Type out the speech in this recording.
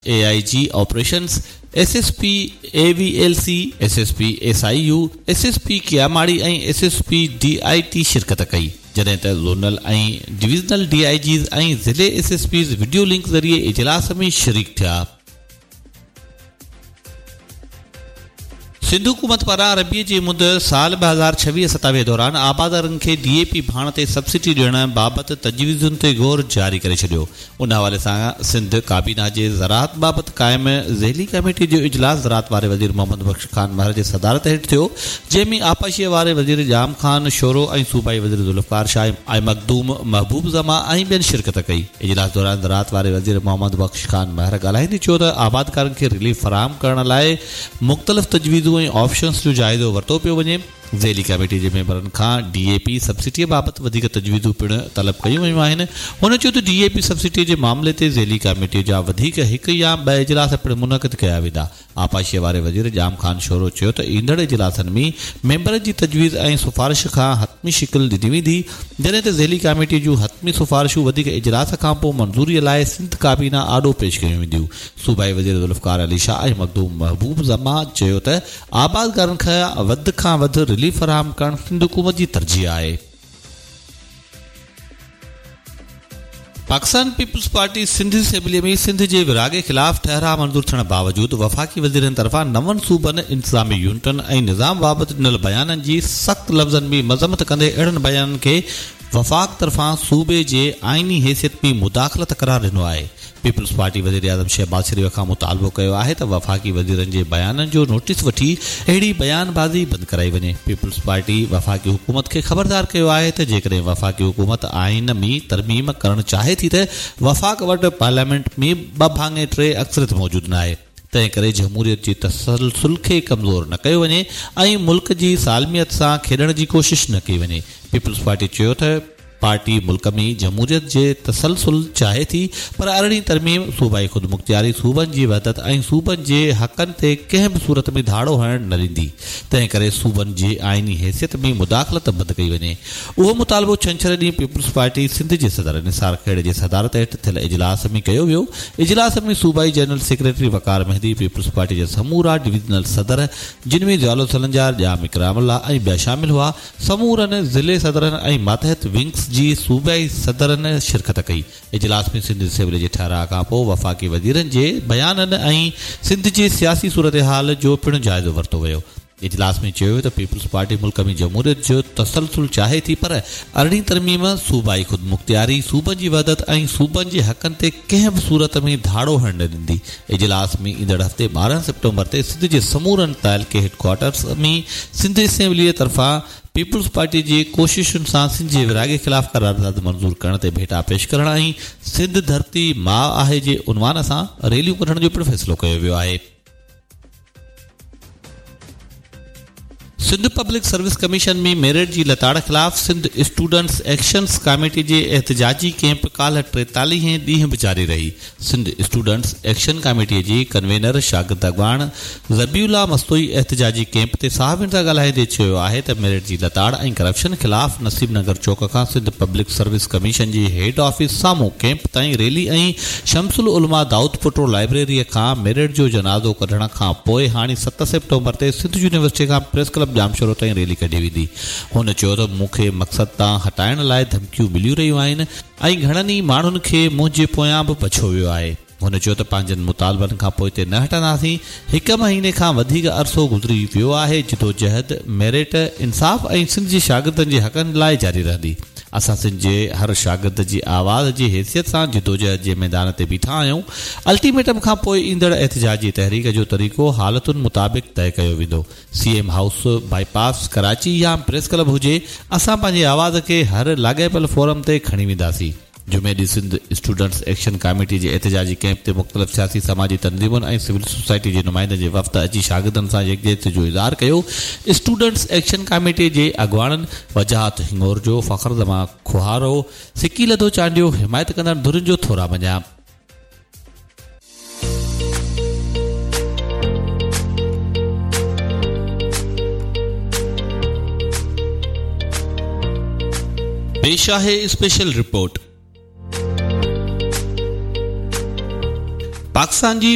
A I G operations, S S P A V L C, S S P S I U, S S P Keamari ۽ S S P D I T شرڪت ڪئي، جڏهن ته zonal ۽ divisional D I Gs ۽ ضلعي S S Ps video link ذريعي اجلاس ۾ شريڪ ٿيا. سنڌ حڪومت پاران ربيع جي مند سال 2026 27 دوران آبادگارن کي ڊي اي پي ڀاڻ تي سبسڊي ڏيڻ بابت تجويزن تي غور جاري ڪري ڇڏيو. ان حوالي سان سنڌ ڪابينا جي زراعت بابت قائم ذيلي ڪميٽي جو اجلاس زراعت واري وزير محمد بخش خان مهر جي صدارت هيٺ ٿيو، جنهن ۾ آبپاشي واري وزير ڄام خان شورو ۽ صوبائي وزير ذوالفقار شاهه ۽ مخدوم محبوب زمان ۽ ٻين شرڪت ڪئي. اجلاس دوران زراعت واري وزير محمد بخش خان مهر ڳالهائيندي چيو ته آبادگارن کي رليف فراهم ڪرڻ لاء مختلف تجويزون ۽ آپشنز جو جائزو ورتو پيو وڃي، ذيلي ڪميٽي جي ميمبرن کان ڊي اي پي سبسڊيء بابت وڌيڪ تجويزون پڻ طلب ڪيون ويون آهن. هن چيو ته ڊي اي پي سبسڊيء جي معاملي تي ذيلي ڪميٽيء جا وڌيڪ هڪ يا ٻه اجلاس پڻ منعقد ڪيا ويندا. آبپاشيء واري وزير ڄام خان شورو چيو ته ايندڙ اجلاسن ۾ ميمبرن جي تجويز ۽ سفارش کان حتمي شڪل ڏني ويندي، جڏهن ته ذيلي ڪاميٽيء جون حتمي سفارشون وڌيڪ اجلاس کانپوء منظوريء لاء سنڌ ڪابينا آڏو پيش ڪيون وينديون. صوبائي وزير ذوالفقار علي شاهه ۽ مخدوم محبوب زمان چيو ته آبادگارن کي وڌ کان وڌ رليف فراهم ڪرڻ سنڌ حڪومت جي ترجيح آهي. Pakistan peoples party Sindh assembly ۾ Sindh جي ورهاڱي خلاف ٺهراء منظور ٿيڻ باوجود وفاقي وزيرن طرفان نون صوبن، انتظامي يونٽن ۽ نظام بابت ڏنل بيانن جي سخت لفظن ۾ مذمت ڪندي اهڙن بيانن کي وفاق طرفان صوبي جي آئيني حيثيت ۾ مداخلت قرار ڏنو آهي. پيپلز پارٽي وزيراعظم شهباز شريف کان مطالبو ڪيو آهي ته وفاقي وزيرن جي بيانن جو نوٽيس وٺي اهڙي بيان بازي بند ڪرائي وڃي. پيپلز پارٽي وفاقي حڪومت کي خبردار ڪيو آهي ته جيڪڏهن وفاقي حڪومت آئين ۾ ترميم ڪرڻ چاهي ٿي ته وفاق وٽ پارليامينٽ ۾ ٻه ڀاڱي ٽي اڪثريت موجود ناهي تنهن ڪري جمهوريت جي تسلسل کي ڪمزور نه ڪيو وڃي ۽ ملڪ جي سالميت سان کيڏڻ جي ڪوشش نه ڪئي وڃي. پيپلز پارٽي چيو ته پارٽي ملڪ ۾ جمهوريت جي تسلسل چاهي ٿي پر ارڙهين ترميم صوبائي خودمختياري، صوبن جي وحدت ۽ صوبن جي حقن تي ڪنهن به صورت ۾ ڌاڙو هڻڻ نه ڏيندي تنهن ڪري صوبن جي آئيني حيثيت ۾ مداخلت بند ڪئي وڃي. اهو مطالبو ڇنڇر ڏينهن پيپلز پارٽي سنڌ جي صدر نثار کهڙي جي صدارت هيٺ ٿيل اجلاس ۾ ڪيو ويو. اجلاس ۾ صوبائي general secretary Waqar Mehdi, peoples party جا سمورا ڊويزنل صدر جن ۾ ضياء السلنجار، ڄام اڪرام الله ۽ ٻيا شامل هئا. سمورن ضلعي صدرن ۽ ماتحت ونگز جي صوبائي صدرن شرڪت ڪئي. اجلاس ۾ سنڌ اسيمبلي جي ٺهراء کانپوء وفاقي وزيرن جي بيانن ۽ سنڌ جي سياسي صورتحال جو پڻ جائزو ورتو ويو. اجلاس ۾ چيو ويو ته پيپلز پارٽي ملڪ ۾ جمهوريت جو تسلسل چاهي ٿي پر ارڙهين ترميم صوبائي خودمختياري، صوبن جي وحدت ۽ صوبن جي حقن تي ڪنهن به صورت ۾ ڌاڙو هڻڻ نه ڏيندي. اجلاس ۾ ايندڙ هفتي 12 سيپٽمبر تي سنڌ جي سمورن تعلقي هيڊڪوارٽرز ۾ سنڌ اسيمبليء طرفان پيپلز پارٽي جي ڪوششن سان سنڌ جي ورهاڱي خلاف قرارداد منظور ڪرڻ تي ڀيٽا پيش ڪرڻ ۽ سنڌ ڌرتي ماء آهي جي عنوان سان ريليون ڪڍڻ جو پڻ فيصلو ڪيو ويو آهي. Sindh public service commission ۾ merit جي لتاڙ خلاف سنڌ اسٽوڊنٽس ايڪشن ڪاميٽي جي احتجاجي ڪئمپ ڪالهه ٽيتاليهين ڏينهن به جاري رهي. سنڌ اسٽوڊنٽس ايڪشن ڪاميٽي جي ڪنوينر شاگرد اڳواڻ ذبيح الله مستوئي احتجاجي ڪئمپ تي صحافين سان ڳالهائيندي چيو آهي ته ميرٽ جي لتاڙ ۽ ڪرپشن خلاف نصيب نگر چوڪ کان سنڌ پبلڪ سروس ڪميشن جي هيڊ آفيس سامهون ڪئمپ تائين ريلي ۽ شمس العلماء دائودپوٽو لائبريريء کان ميرٽ جو جنازو ڪڍڻ کان پوء هاڻي 7 سيپٽمبر تي سنڌ يونيورسٽيء کان پريس ڪلب ڄامشورو تائين ريلي ڪڍي ويندي. هن چيو ته مون کي مقصد تان هٽائڻ لاء ڌمڪيون مليون رهيون آهن ۽ گهڻن ئي ماڻهن کي منهنجي پويان به پڇيو ويو آهي. هن چيو ته پنهنجن مطالبن کان پوئتي نه هٽنداسين، هڪ مهيني کان وڌيڪ عرصو گذري ويو آهي، جدوجهد ميرٽ، انصاف ۽ سنڌ جي شاگردن جي حقن لاء جاري رهندي. اسان سنڌ جي هر شاگرد جي آواز جي حيثيت سان جدوجهد جي ميدان تي بيٺا آهيون. الٽيميٽم کان پوء ايندڙ احتجاجي تحريڪ جو طريقو حالتن مطابق طئي ڪيو ويندو. C M house, bypass, Karachi يا پريس ڪلب هجي، اسان پنهنجي آواز کي هر لاڳاپيل فورم تي کڻي وينداسين. جمعي ڏينهن سنڌ اسٽوڊنٽس ايڪشن ڪاميٽي جي احتجاجي ڪئمپ تي مختلف سياسي سماجي تنظيمن ۽ سول سوسائٽي جي نمائندن جي وفد اچي شاگردن سان يڪجهتي جو اظهار ڪيو. اسٽوڊنٽس ايڪشن ڪاميٽي جي اڳواڻن وجاهت هڱورجو، فخر زمان کوهارو، سڪي لڌو چانڊيو حمايت ڪندڙ ڌرين جو ٿورا مڃيا. پيش آهي اسپيشل رپورٽ. پاڪستان جي.